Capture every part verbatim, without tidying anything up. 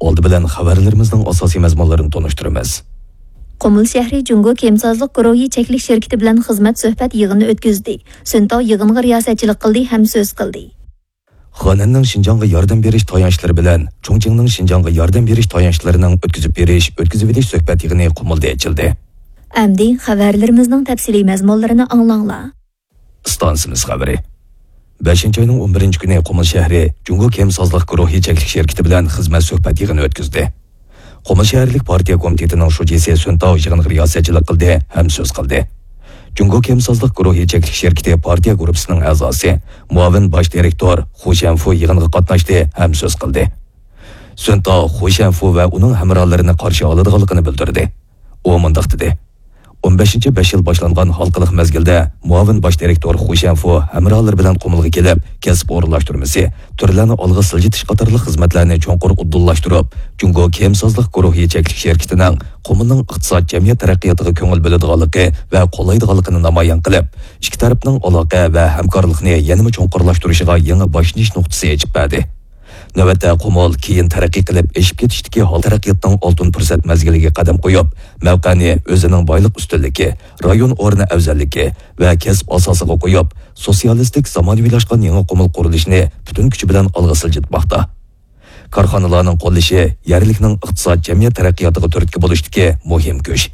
ئالدى بىلەن خەۋەرلىرىمىزنىڭ ئاساسىي مەزمۇنلىرىنى تونۇشتۇرىمىز. قۇمۇل شەھىرى جۇڭگو كىيىمسازلىق گۇرۇھى چەكلىك شىركىتى بىلەن خىزمەت سۆھبەت يىغىنى ئۆتكۈزدى. سۈن تاۋ يىغىنغا رىياسەتچىلىك قىلدى ھەم سۆز قىلدى. خېنەننىڭ شىنجاڭغا ياردەم بېرىش تايانچلىرى بىلەن چۇڭچىڭنىڭ شىنجاڭغا ياردەم بېرىش تايانچلىرىنىڭ ئۆتكۈزۈپ بېرىش، ئۆتكۈزۈۋېلىش سۆھبەت يىغىنى قۇمۇلدا ئېچىلدى. ئەمدى خەۋەرلىرىمىزنىڭ تەپسىلىي مەزمۇنلىرىنى ئاڭلاڭلار. ئىستانسىمىز خەۋىرى. بەشىنچى ئاينىڭ ئون بىرىنچى كۈنى قۇمۇل شەھىرى جۇڭگو كىيىمسازلىق گۇرۇھى چەكلىك شىركىتى بىلەن خىزمەت سۆھبەت يىغىنى ئۆتكۈزدى. قۇمۇل شەھەرلىك پارتىيە كومىتېتىنىڭ شۇجىسى سۈن تاۋ يىغىنغا رىياسەتچىلىك قىلدى ھەم سۆز قىلدى. جۇڭگو كىيىمسازلىق گۇرۇھى چەكلىك شىركىتى پارتىيە گۇرۇپپىسىنىڭ ئەزاسى، مۇئاۋىن باش دىرېكتور خۇ شەنفۇ يىغىنغا قاتناشتى ھەم سۆز قىلدى. سۈن تاۋ خۇ شەنفۇ ۋە ئۇنىڭ ھەمراھلىرىنى قارشى ئالىدىغانلىقىنى بىلدۈردى. ئۇ مۇنداق دېدى: ئون بەشىنچى بەش يىل باشلانغان ھالقىلىق مەزگىلدە مۇئاۋىن باش دىرېكتور خۇ شەنفۇ ھەمراھلىرى بىلەن قۇمۇلغا كېلىپ، كەسىپ ئورۇنلاشتۇرمىسى، تۈرلەرنى ئالغا سىلجىتىش قاتارلىق خىزمەتلەرنى چوڭقۇر ئۇدۇللاشتۇرۇپ، جۇڭگو كىيىمسازلىق گۇرۇھى چەكلىك شىركىتىنىڭ قۇمۇلنىڭ ئىقتىساد، جەمئىيەت تەرەققىياتىغا كۆڭۈل بۆلىدىغانلىقى ۋە قوللايدىغانلىقىنى نامايان قىلىپ، ئىككى تەرەپنىڭ ئالاقە ۋە ھەمكارلىقنى يەنىمۇ چوڭقۇرلاشتۇرۇشىغا يېڭى باشلىنىش نۇقتىسى ئېچىپ بەردى. نۆۋەتتە قۇمۇل كېيىن تەرەققىي قىلىپ ئېشىپ كېتىشتىكى ھال تەرەققىياتنىڭ ئالتۇن پۇرسەت مەزگىلىگە قەدەم قويۇپ، مەۋقەنى ئۆزىنىڭ بايلىق ئۈستۈنلۈكى، رايون ئورنى ئەۋزەللىكى ۋە كەسىپ ئاساسىغا قويۇپ، سوتسىيالىستىك زامانىۋىلاشقان يېڭى قۇمۇل قۇرۇلۇشىنى پۈتۈن كۈچى بىلەن ئالغا سىلجىتماقتا. كارخانىلارنىڭ قوللىشى يەرلىكنىڭ ئىقتىساد، جەمئىيەت تەرەققىياتىغا تۈرتكە بولۇشتىكى مۇھىم كۈچ.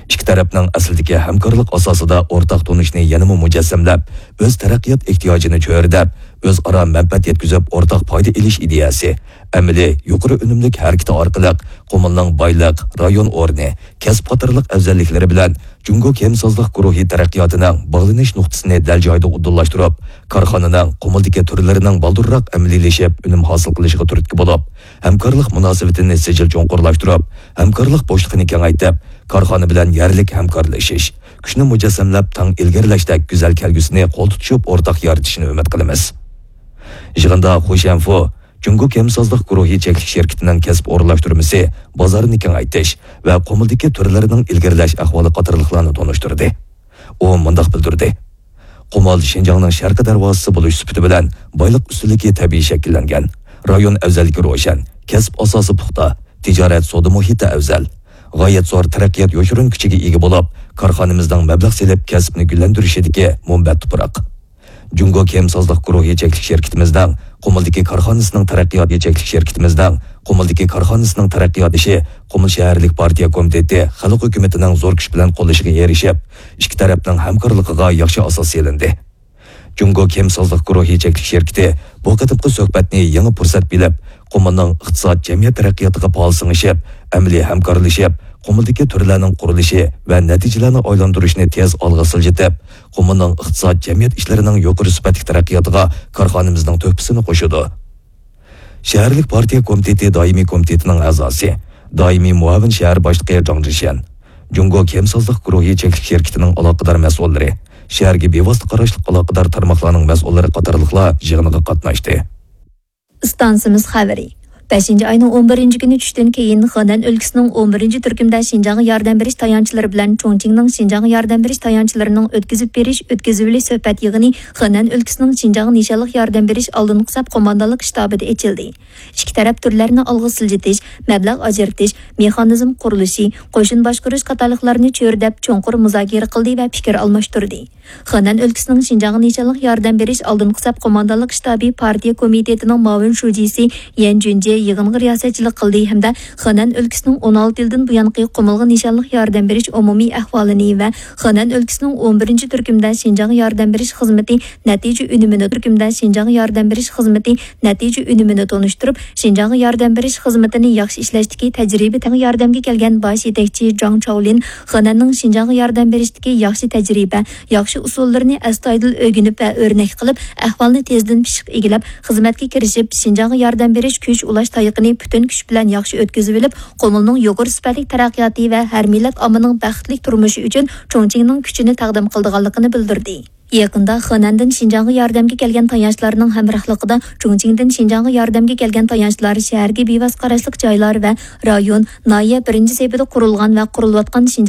ئىككى تەرەپنىڭ ئەسلىدىكى ھەمكارلىق ئاساسىدا ئورتاق تونۇشنى يەنىمۇ مۇجەسسەملەپ، ئۆز تەرەققىيات ئېھتىياجىنى چۆرىدەپ، ئۆزئارا مەنپەئەت يەتكۈزۈپ، ئورتاق پايدا ئېلىش ئىدىيەسى، ئەمەلىي يۇقىرى ئۈنۈملۈك ھەرىكىتى ئارقىلىق قۇمۇلنىڭ بايلىق، رايون ئورنى، كەسىپ قاتارلىق ئەۋزەللىكلىرى بىلەن جۇڭگو كىيىمسازلىق گۇرۇھى تەرەققىياتىنىڭ باغلىنىش نۇقتىسىنى دەل جايىدا ئۇدۇللاشتۇرۇپ، كارخانىنىڭ قۇمۇلدىكى تۈرلىرىنىڭ بالدۇرراق ئەمەلىيلىشىپ، ئۈنۈم ھاسىل قىلىشىغا تۈرتكە بولۇپ، ھەمكارلىق مۇناسىۋىتىنى سىجىل چوڭقۇرلاشتۇرۇپ، ھەمكارلىق بوشلۇقىنى كېڭەيتىپ، كارخانا بىلەن يەرلىك ھەمكارلىشىش، كۈچنى مۇجەسسەملەپ، تەڭ ئىلگىرىلەشتەك گۈزەل كەلگۈسىنى قول تۇتۇشۇپ ئورتاق يارىتىشىنى ئۈمىد قىلىمىز. يىغىندا خۇ شەنفۇ جۇڭگو كىيىمسازلىق گۇرۇھى چەكلىك شىركىتىنىڭ كەسىپ ئورۇنلاشتۇرمىسى، بازارنى كېڭەيتىش ۋە قۇمۇلدىكى تۈرلىرىنىڭ ئىلگىرىلەش ئەھۋالى قاتارلىقلارنى تونۇشتۇردى. ئۇ مۇنداق بىلدۈردى: قۇمۇل شىنجاڭنىڭ شەرقىي دەرۋازىسى بولۇش سۈپىتى بىلەن بايلىق ئۈستۈنلۈكى تەبىئىي شەكىللەنگەن، رايون ئەۋزەللىكى روشەن، كەسىپ ئاساسى پۇختا، تىجارەت سودا مۇھىتى ئەۋزەل، غايەت زور تەرەققىيات يوشۇرۇن كۈچىگە ئىگە بولۇپ، كارخانىمىزنىڭ مەبلەغ سېلىپ كەسىپنى گۈللەندۈرۈشىدىكى مۇنبەت تۇپراق. جۇڭگو كىيىمسازلىق گۇرۇھى چەكلىك شىركىتىمىزنىڭ قۇمۇلدىكى كارخانىسىنىڭ تەرەققىياتى چەكلىك شىركىتىمىزنىڭ قۇمۇلدىكى كارخانىسىنىڭ تەرەققىيات ئىشى قۇمۇل شەھەرلىك پارتىيە كومىتېتى خەلق ھۆكۈمىتىنىڭ زور كۈچ بىلەن قوللىشىغا ئېرىشىپ، ئىككى تەرەپنىڭ ھەمكارلىقىغا ياخشى ئاساس سېلىندى. جۇڭگو كىيىمسازلىق گۇرۇھى چەكلىك شىركىتى بۇ قېتىمقى سۆھبەتنى يېڭى پۇرسەت بىلىپ، قۇمۇلنىڭ ئىقتىساد، جەمئىيەت تەرەققىياتىغا پائال سىڭىشىپ، ئەمەلىي ھەمكارلىشىپ، قۇمۇلدىكى تۈرلەرنىڭ قۇرۇلۇشى ۋە نەتىجىلەرنى ئايلاندۇرۇشنى تېز ئالغا سىلجىتىپ، قۇمۇلنىڭ ئىقتىساد، جەمئىيەت ئىشلىرىنىڭ يۇقىرى سۈپەتلىك تەرەققىياتىغا كارخانىمىزنىڭ تۆھپىسىنى قوشىدۇ. شەھەرلىك پارتىيە كومىتېتى دائىمىي كومىتېتىنىڭ ئەزاسى، دائىمىي مۇئاۋىن شەھەر باشلىقى جاڭ جىشيەن، جۇڭگو كىيىمسازلىق گۇرۇھى چەكلىك شىركىتىنىڭ ئالاقىدار مەسئۇللىرى، شەھەرگە بىۋاسىتە قاراشلىق ئالاقىدار تارماقلارنىڭ مەسئۇللىرى قاتارلىقلار يىغىنغا قاتناشتى. ئىستانسىمىز خەۋىرى. بەشىنچى ئاينىڭ ئون بىرىنچى كۈنى چۈشتىن كېيىن، خېنەن ئۆلكىسىنىڭ ئون بىرىنچى تۈركۈمدە شىنجاڭغا ياردەم بېرىش تايانچلىرى بىلەن چۇڭچىڭنىڭ شىنجاڭغا ياردەم بېرىش تايانچلىرىنىڭ ئۆتكۈزۈپ بېرىش، ئۆتكۈزۈۋېلىش سۆھبەت يىغىنى خېنەن ئۆلكىسىنىڭ شىنجاڭغا نىشانلىق ياردەم بېرىش ئالدىنقى سەپ قوماندانلىق شتابىدا ئېچىلدى. ئىككى تەرەپ تۈرلەرنى ئالغا سىلجىتىش، مەبلەغ ئاجرىتىش، مېخانىزم قۇرۇلۇشى، قوشۇن باشقۇرۇش قاتارلىقلارنى چۆرىدەپ چوڭقۇر مۇزاكىرە قىلدى ۋە پىكىر ئالماشتۇردى. خېنەن ئۆلكىسىنىڭ شىنجاڭغا نىشانلىق ياردەم بېرىش ئالدىنقى سەپ قوماندانلىق شتابى پارتىيە كومىتېتىنىڭ مۇئاۋىن شۇجىسى يەن جۈنجې يىغىنغا رىياسەتچىلىك قىلدى ھەمدە خېنەن ئۆلكىسىنىڭ ئون ئالتە يىلدىن بۇيانقى قۇمۇلغا نىشانلىق ياردەم بېرىش ئومۇمىي ئەھۋالىنى ۋە خېنەن ئۆلكىسىنىڭ ئون بىرىنچى تۈركۈمدە شىنجاڭغا ياردەم بېرىش خىزمىتى نەتىجە ئۈنۈمىنى، تۈركۈمدە شىنجاڭغا ياردەم بېرىش خىزمىتى نەتىجە ئۈنۈمىنى تونۇشتۇرۇپ، شىنجاڭغا ياردەم بېرىش خىزمىتىنى ياخشى ئىشلەشتىكى تەجرىبە تەڭ ياردەمگە كەلگەن باش يېتەكچى جاڭ چاۋلىن خېنەننىڭ شىنجاڭغا ياردەم بېرىشتىكى ياخشى تەجرىبە، ياخشى ئۇسۇللىرىنى ئەستايىدىل ئۆگىنىپ ۋە ئۆرنەك قىلىپ، ئەھۋالنى تېزدىن پىششىق ئىگىلەپ، خىزمەتكە كىرىشىپ، شىنجاڭغا ياردەم بېرىش كۈچ ئۇلاش تايىقىنى پۈتۈن كۈچ بىلەن ياخشى ئۆتكۈزۈۋېلىپ، قۇمۇلنىڭ يۇقىرى سۈپەتلىك تەرەققىياتى ۋە ھەر مىللەت ئاممىنىڭ بەختلىك تۇرمۇشى ئۈچۈن چۇڭچىڭنىڭ كۈچىنى تەقدىم قىلىدىغانلىقىنى بىلدۈردى. يېقىندا خېنەندىن شىنجاڭغا ياردەمگە كەلگەن تايانچلارنىڭ ھەمراھلىقىدا چۇڭچىڭدىن شىنجاڭغا ياردەمگە كەلگەن تايانچلار شەھەرگە بىۋاسىتە قاراشلىق جايلار ۋە رايون، ناھىيە بىرىنچى سېپىدا قۇرۇلغان ۋە قۇرۇلۇۋاتقان